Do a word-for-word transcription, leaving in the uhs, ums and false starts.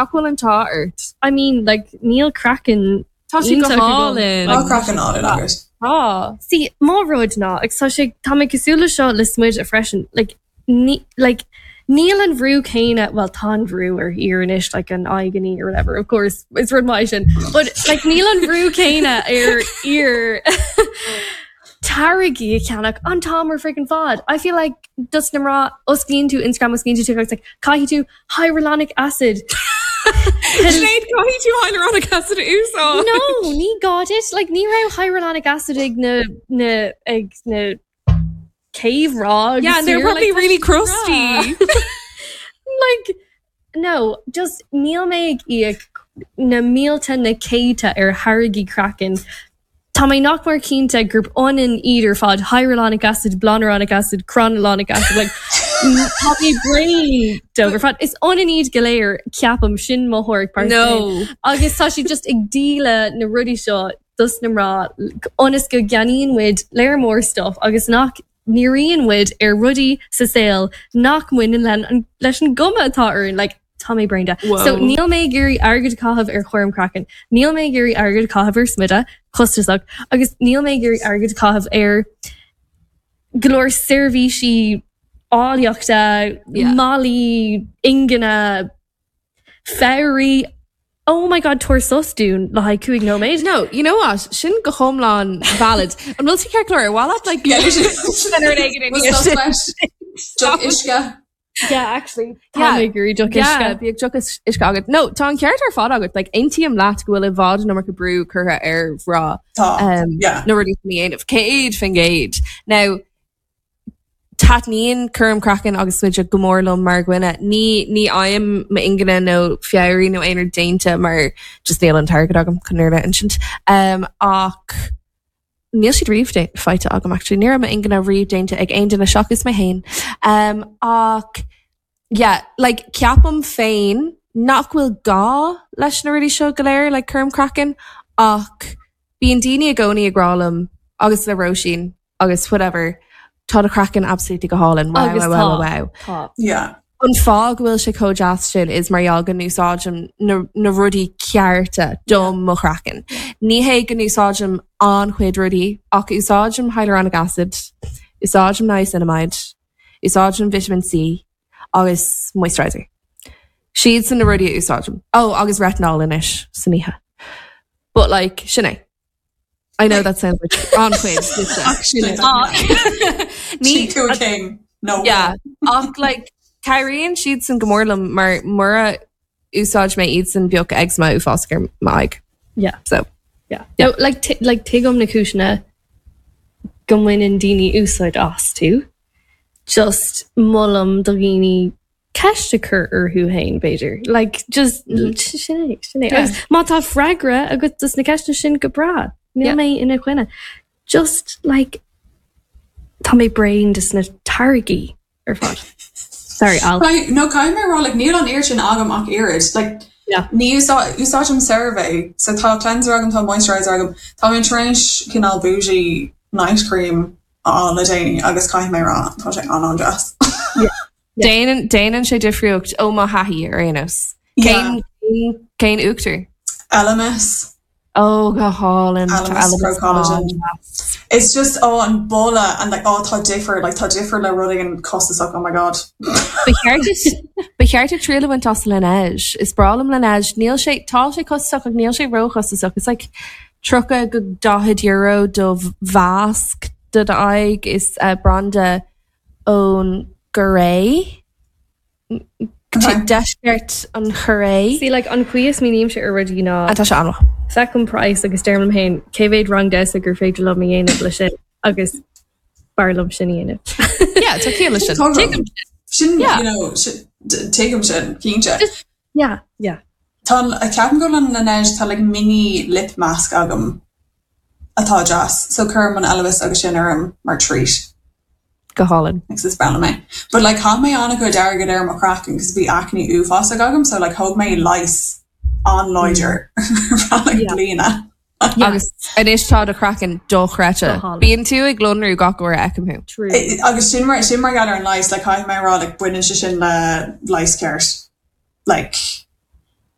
Nach bhfuil an t-ádh ort? I mean like níl craiceann Tá sé go iontach agam. hálainn. Tá craiceann álainn agat. Tá. See, mo rud ná agus tá sé tá mé cosúil le seo le smideadh freisin like ní like níl an bhrú céanna well tá an bhrú ar fhir anois like an aghaidh or whatever of course is rud maith sin but like níl an bhrú céanna ar fhir táirgí a cheannach an t-am ar freaking fad. I feel like dos na mná osclaíonn tú Instagram osclaíonn tú TikTok like caithfidh tú hyaluronic acid. Sinéad caithfidh tú hyaluronic acid a úsáid. No, ní gá duit like ní raibh hyaluronic acid ag na na ag na cave rogs. Yeah, and they're probably really crusty. like no, just níl mé ag íoc na mílte na céadta ar tháirgí craicinn. Tá mé nach mór cinnte gurb ionann iad ar fad hyaluronic acid, blanuronic acid, chronulonic acid like tá mé bréan dó ar fad. Is ionann iad go léir ceapaim sin mo thuairim pearsanta. No. Agus tá sí just ag díol na rudaí seo dos na mná ionas go gceannaíonn muid léir mór stuff agus nach ndíríonn muid ar rudaí sa saol nach mbaineann le leis an gcuma atá orainn like tá mé bréan de. So níl mé ag iarraidh airgead a chaitheamh ar chúram craicinn. Níl mé ag iarraidh airgead a chaitheamh ar smideadh costasach agus níl mé ag iarraidh airgead a chaitheamh ar go leor seirbhísí áilleachta, Yeah. malaí, ingne, fabhraí. Oh my god, tabhair sos dúinn le haghaidh cúig nóiméad. No, you know what? Sin go hiomlán valid. An bhfuil tú ceart go leor? Well like Yeah, Deoch uisce. Yeah, actually. Tá Yeah. mé ag iarraidh deoch Yeah, uisce. bíodh deoch uisce agat. No, tá an ceart ar fad agat, like aontaím leat go bhfuil i bhfad an iomarca brú curtha ar mhná Tá. um, Yeah. na rudaí sin a dhéanamh. Céad faoin gcéad. Now, taitníonn cúram craicinn agus smideadh go mór liom mar dhuine. Ní ní fhaighim m'ingne nó fabhraí nó aon rud déanta mar just níl an t-airgead agam chun a insint. Um, ach níl siad riamh dé- faighte agam actually. Ní raibh m'ingne riamh déanta ag aon duine seachas mé féin. Um, ach yeah, like ceapaim féin nach bhfuil gá leis na rudaí seo go léir like cúram craicinn ach bíonn daoine i gcónaí ag rá liom agus le Róisín agus whatever tá do chraiceann absolutely go hálainn wow, Agus wow, wow, tá. wow. Tá. Yeah. An fáth go bhfuil sé chomh deas sin is mar gheall go n-úsáidim na, na rudaí cearta dom mo chraiceann. Ní hé go n-úsáidim an-chuid rudaí ach úsáidim hyaluronic acid, úsáidim niacinamide, úsáidim vitamin C agus moisturizer. Siad sin na rudaí a úsáidim. Oh, agus retinol anois san oíche. But like sin é. I know that sounds like an-chuid. Ach sin é. Ní Sin cúig céim. No. Yeah, ach like cabhraíonn siad sin go mór liom mar mura úsáid mé iad sin bheadh eczema uafásach ar m'aghaidh. Yeah. So Yeah. No, like t- like tuigim na cúiseanna go mbaineann daoine úsáid astu. Just molaim do dhaoine ceist a chur orthu féin b'fhéidir. Like just sin é, sin é. Yeah. Agus má tá freagra agat dos na ceisteanna sin go breá. Níl Yeah. mé ina choinne. Just like tá mé bréan des na táirgí ar fad. Sorry, Al. Caithfidh- No caithfidh mé rá like níl an oiread sin agam ach oiread. Like Yeah. ní úsá- úsáidim CeraVe, so tá cleanser agam tá moisturizer agam Tá mé tar éis cineál bougie night cream a fháil le déanaí agus caithfidh mé rá tá sé an-an-deas. Déanann déanann sé difríocht ó mo thaithí ar aon nós. Cén cén uachtar? Elemis. Ó go hálainn Elemis Pro Collagen. It's just oh an boladh and like oh tá difear like tá difear le rudaí an costasach oh my god. Ba cheart ba cheart triail a bhaint as Laneige. Is breá liom Laneige níl sé tá sé costasach ach níl sé róchostasach. It's like tríocha go daichead euro do mhasc do d'aghaidh is uh, branda ón gCoiré. Okay. Deisceart an Chóiré. See like an chaoi a smaoinímse ar rudaí ná Tá sé an feicim praghas agus deirim liom féin cé mhéad rang damhsa gur féidir liom a dhéanamh leis sin agus b'fhearr liom sin a dhéanamh. Yeah, tá ciall leis sin. Tá Tuigim Sin Yeah. you know sin- d- tuigim sin cinnte. Yeah, yeah. Tá a ceapaim go bhfuil an Laneige tá like mini lip mask agam atá deas, so cuirim an Elemis agus sin orm mar treat. go hálainn. Agus is breá liom é. But like chaith mé an-chuid airgead ar mo chraiceann cos bhí acne uafásach agam, so like thóg mé leigheas an-láidir ar feadh like Yeah. bliana. Yeah. Agus anois tá do chraiceann dochreidte. Go hálainn. Bíonn tú ag lonrú gach uair a fheicim thú. True. I- agus sin mar sin mar gheall ar an leigheas, like caithfidh mé rá like baineann sé sin le leigheas ceart. Like